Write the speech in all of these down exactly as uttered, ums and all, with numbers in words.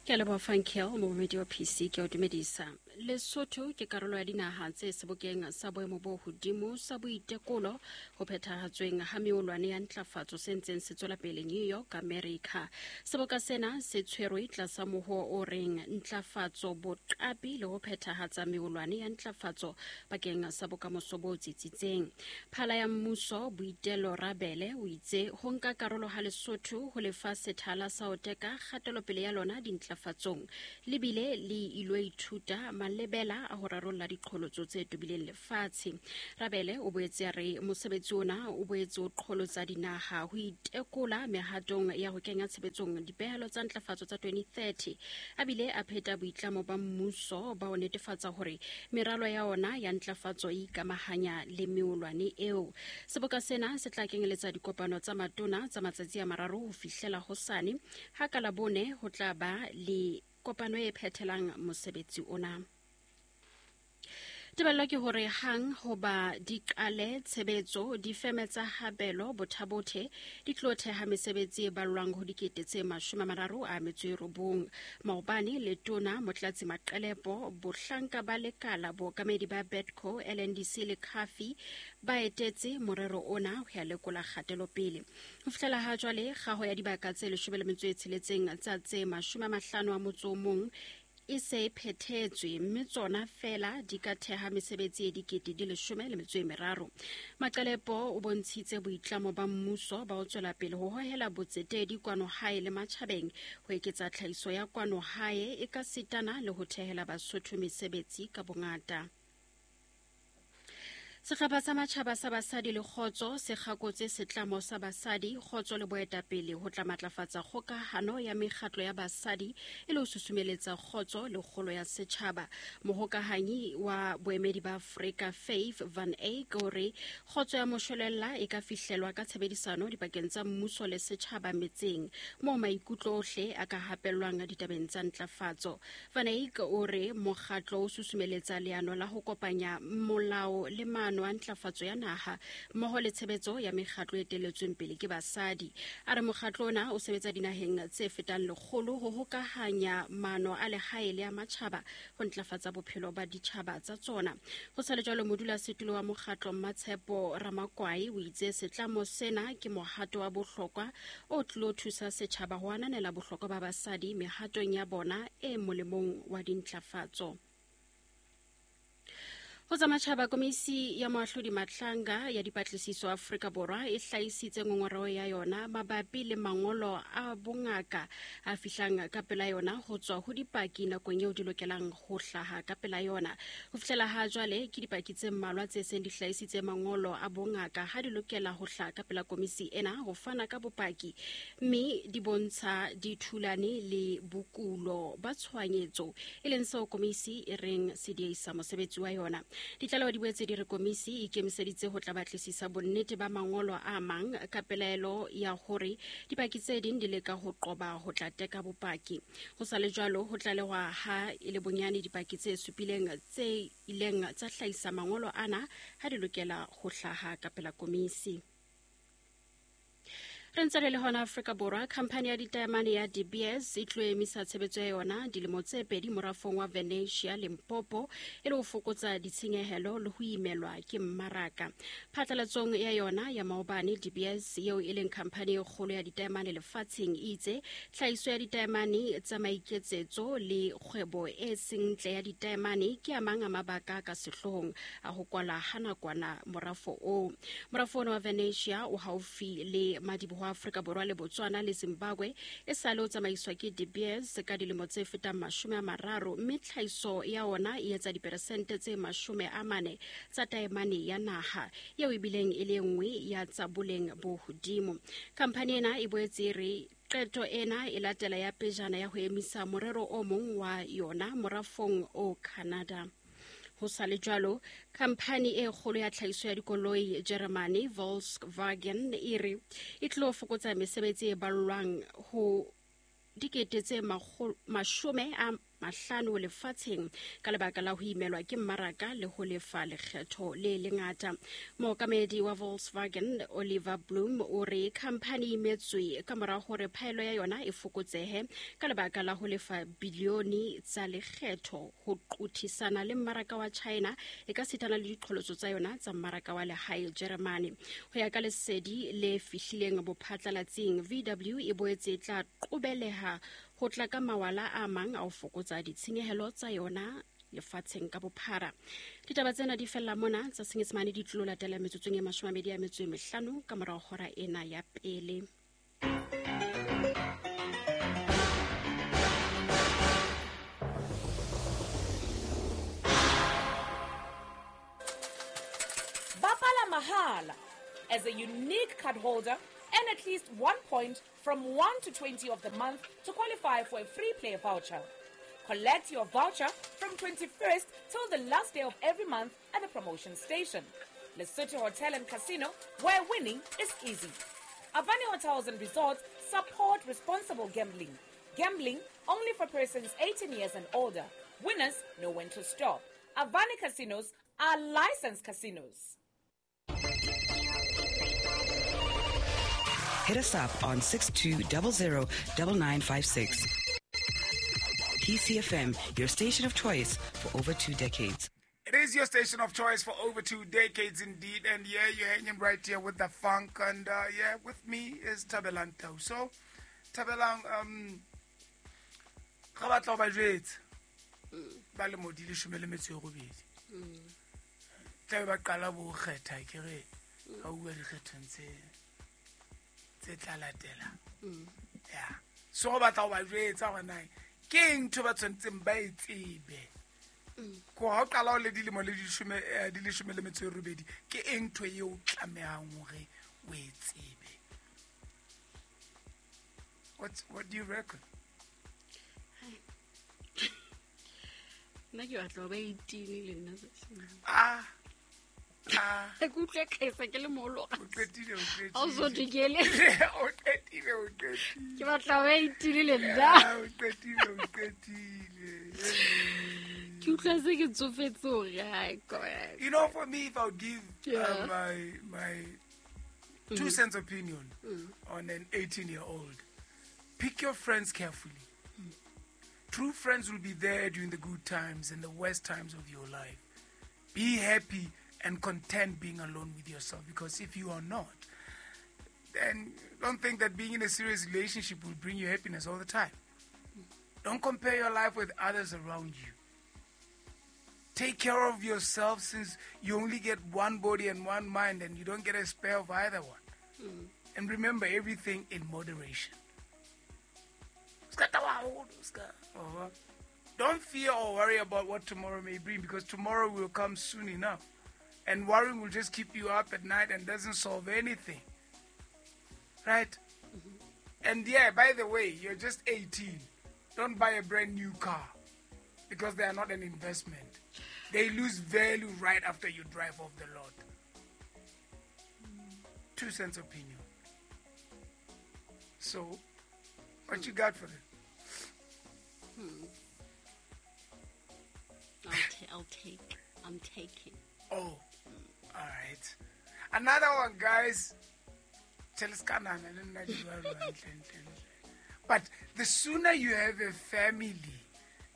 Ke a leboha Frankel, momamedi wa P C, ke a o dumedisa. Lesotho ke karolo ya dinaha tse sebokeng sa boemo bo hodimo sa boitekolo ho phethahatsweng ha meolwane ya ntlafatso se ntseng se tswela pele New York, America. Seboka sena se tshwerwe tlasa mohoo o reng ntlafatso, boqapi le ho phethahatsa meolwane ya ntlafatso bakeng sa bokamoso bo tsitsitseng. Phala ya mmuso Boitelo Rabele o itse ho nka karolo ha Lesotho ho lefa sethala sa ho teka kgatelopele ya lona dintlafatsong le bile le ilo ithuta malebela a ho rarolla diqholotso tse tobileng lefatshe. Rabele o boetse a re mosebetsi ona o boetse o qholotsa dinaha ho itekola mehatong ya ho kenya tshebetsong dipehelo tsa ntlafatso tsa twenty thirty, a bile a pheta boitlamo ba mmuso ba ho netefatsa hore meralo ya ona ya ntlafatso e ikamahanya le meolwane eo. Seboka sena se tla kenyeletsa dikopano tsa matona tsa matsatsi a mararo ho fihlela hosane, ha ka Labone ho tla ba le kopano e phethelang mosebetsi ona. Tebello ke hore hang hoba di qale tshebetso, difeme tsa Habelo Bothabothe di tlo theha mesebetsi e ballwang ho dikete tse mashome a mararo a metso e robong. Maobane Letona Motlatsi Maqelepo, bohlanka ba lekala, bookamedi ba Betco, L N D C le Cafi ba etetse morero ona ho ya lekola kgatelopele. Ho fihlela ha jwale, kgaho ya dibaka tse leshome le metso e tsheletseng tsa tse mashome a mahlano a motso o mong e se e phethetswe, mme tsona fela di ka theha mesebetsi e dikete di leshome le metso e meraro. Maqelepo o bontshitse boitlamo ba mmuso ba ho tswela pele ho hohela botsetedi kwano hae le matjhabeng, ho eketsa tlhahiso ya kwano hae e ka sitana le ho thehela Basotho mesebetsi ka bongata. Sehlopha sa matjhaba sa basadi le kgotso se kgakotse setlamo sa basadi, kgotso le boetapele ho tla matlafatsa kgokahano ya mekgatlo ya basadi e le ho susumeletsa kgotso le kgolo ya setjhaba. Mohokahanyi wa boemedi ba Afrika Faith Van Eyck o re kgotso ya moshwelella e ka fihlelwa ka tshebedisano dipakeng tsa mmuso le setjhaba metseng moo maikutlo ohle a ka hapellwang ditabeng tsa ntlafatso. Van Eyck o re mokgatlo o susumeletsa leano la ho kopanya molao le maano a ntlafatso ya naha mmoho le tshebetso ya mekgatlo e eteletsweng pele ke basadi. A re mokgatlo ona o sebetsa dinaheng tse fetang lekgolo ho hokahanya maano a lehae le a matjhaba ho ntlafatsa bophelo ba ditjhaba tsa tsona. Ho sa le jwalo, modulasetulo wa mokgatlo Mmatshepo Ramakwai o itse setlamo sena ke mohato wa bohlokwa o tlilo thusa setjhaba ho ananela bohlokwa ba basadi mehatong ya bona e molemong wa dintlafatso. Ho tsa matjhaba, komisi ya moahlodi Matlanga ya dipatlisiso Afrika Borwa e hlahisitse ngongoreho ya yona mabapi le mangolo a bongaka a fihlang ka pela yona ho tswa ho dipaki nakong eo di lokelang ho hlaha ka pela yona. Ho fihlela ha jwale ke dipaki tse mmalwa tse seng di hlahisitse mangolo a bongaka ha di lokela ho hlaha ka pela komisi ena ho fana ka bopaki, mme di bontsha di thulane le bokulo ba tshohanyetso, e leng seo komisi e reng se dieisa mosebetsi wa yona. Ditlaleho di boetse di re komisi e ikemiseditse ho tla batlisisa bonnete ba mangolo a mang ka pelaelo ya hore dipaki tse ding di leka ho qoba ho tla teka bopaki. Ho sa le jwalo, ho tlalehwa ha e le bonyane dipaki tse supileng tse ileng tsa hlahisa mangolo ana ha di lokela ho hlaha ka pela komisi. Re ntse re le hona Afrika Borwa, khamphani ya ditaemane ya De Beers e tlo emisa tshebetso ya yona dilemo tse pedi morafong wa Venetia Limpopo e le ho fokotsa ditshenyehelo le ho imelwa ke mmaraka. Phatlalatsong ya yona ya maobane, De Beers eo e leng khamphani e kgolo ya ditaemane lefatsheng e itse tlhahiso ya ditaemane tsa maiketsetso le kgwebo e seng ntle ya ditaemane ke a mang a mabaka ka sehloohong a ho kwala ha nakwana morafo oo. Morafo ona wa Venetia o haufi le madiboho Afrika Borwa le Botswana le Zimbabwe e sale o tsamaiswa ke De Beers ka dilemo tse fetang mashome a mararo, mme tlhahiso ya ona e etsa diperesente tse mashome a mane tsa taemane ya naha eo e bileng e le nngwe ya tsa boleng bo hodimo. Khamphani ena e boetse e re qeto ena e latela ya pejana ya ho emisa morero o mong wa yona morafong o Canada. Ho sa le jwalo, khamphani e kgolo ya tlhahiso ya dikoloi Germany, Volkswagen, e re e tlo fokotsa mesebetsi e ballwang ho dikete tse mashome a mahlano lefatsheng ka lebaka la ho imelwa ke mmaraka le ho lefa lekgetho le lengata. Mookamedi wa Volkswagen Oliver Bloom o re khamphani e imetswe ka mora hore phaello ya yona e fokotsehe ka lebaka la ho lefa bilione tsa lekgetho ho qothisana le mmaraka wa China e ka sitana le diqholotso tsa yona tsa mmaraka wa lehae Germany. Ho ya ka lesedi le fihlileng bophatlalatsing, V W e boetse e tla qobeleha ho tla ka mawala a mang a ho fokotsa ditshenyehelo tsa yona lefatsheng ka bophara. Ditaba tsena di fella mona tsa Senyesemane di tlo latela metsotsong e mashome a mabedi a metso e mehlano ka morao hora ena ya pele. Bapala mahala. As a unique card holder, earn at least one point from one to twenty of the month to qualify for a free play voucher. Collect your voucher from twenty-first till the last day of every month at the promotion station. Lesotho Hotel and Casino, where winning is easy. Avani Hotels and Resorts support responsible gambling. Gambling only for persons eighteen years and older. Winners know when to stop. Avani Casinos are licensed casinos. Hit us up on six two zero zero nine nine five six. P C F M, your station of choice for over two decades. It is your station of choice for over two decades indeed. And yeah, you're hanging right here with the funk. And uh, yeah, with me is Thabelang Tau. So, Thabelang, um, ga batla ho ba jwetsa ba le modi leshome le metso e robedi. Tla be ba qala bo kgetha ke re ha uwa dikgethong tse tse tla latela. Yeah. So go batla ho ba jwetsa hore na ke eng ntho ba tshwanetseng ba e tsebe. Ko ha o qala o le dilemo le dishome di leshome le metso e robedi ke eng ntho eo o tlamehang hore o e tsebe. What what do you reckon? Nna ke batla ho ba eighteen le nna. Ah. Ah. Ke utlwe ka esa ke le moholo. O qetile, o qetile. Ha o so dikele. O qetile, o qetile. Ke batla ho ba eighteen le nna. O qetile, o qetile. Ke utlwa se ke tsofetse hore hai ko. You know, for me, if I would give yeah. uh, my my two mm. cents opinion mm. on an eighteen-year-old, pick your friends carefully. Mm. True friends will be there during the good times and the worst times of your life. Be happy and content being alone with yourself, because if you are not, then don't think that being in a serious relationship will bring you happiness all the time. Don't compare your life with others around you. Take care of yourself, since you only get one body and one mind, and you don't get a spare of either one. Mm. And remember, everything in moderation. Don't fear or worry about what tomorrow may bring, because tomorrow will come soon enough. And worrying will just keep you up at night and doesn't solve anything. Right? Mm-hmm. And yeah, by the way, you're just eighteen. Don't buy a brand new car, because they are not an investment. They lose value right after you drive off the lot. Mm. Two cents opinion. So, what you got for them? Hmm. I'll, t- I'll take. I'm taking. Oh, all right. Another one, guys. But the sooner you have a family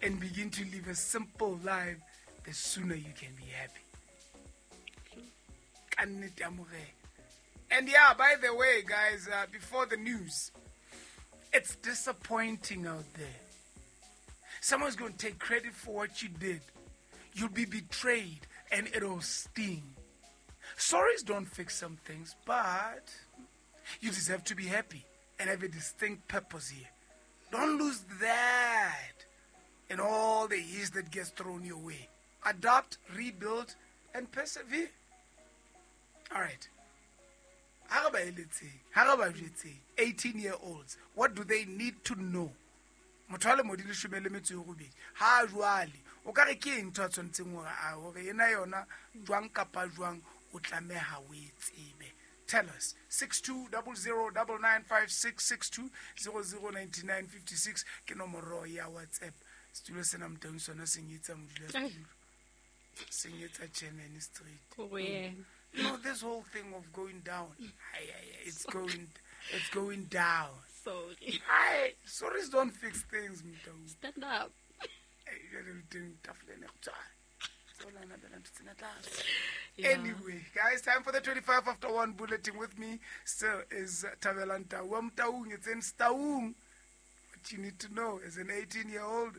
and begin to live a simple life, the sooner you can be happy. And yeah, by the way, guys, uh, before the news, it's disappointing out there. Someone's going to take credit for what you did. You'll be betrayed and it'll sting. Stories don't fix some things, but you deserve to be happy and have a distinct purpose here. Don't lose that in all the years that gets thrown your way. Adapt, rebuild, and persevere. All right. eighteen-year-olds, what do they need to know? Motho a le modi leshome le metso e robedi ha jwale o ka re ke eng ntho a tshwanetseng hore a hore ena yona jwang kapa jwang o tlameha o e tsebe. Tell us six two zero zero nine nine five six six two zero zero nine nine five six ke nomoro ya WhatsApp. Setulo sena Motaung sona se nyetsa modulasetulo. Se nyetsa chairman street. Ko yena. No, this whole thing of going down, aye, aye, aye, it's going, it's going down. Sorry. Aye, sorries don't fix things, Motaung. Stand up. Yeah. Anyway, guys, time for the twenty-five after one bulletin. With me still is Thabelang Tau. Taung, it's in Taung. What you need to know as an eighteen-year-old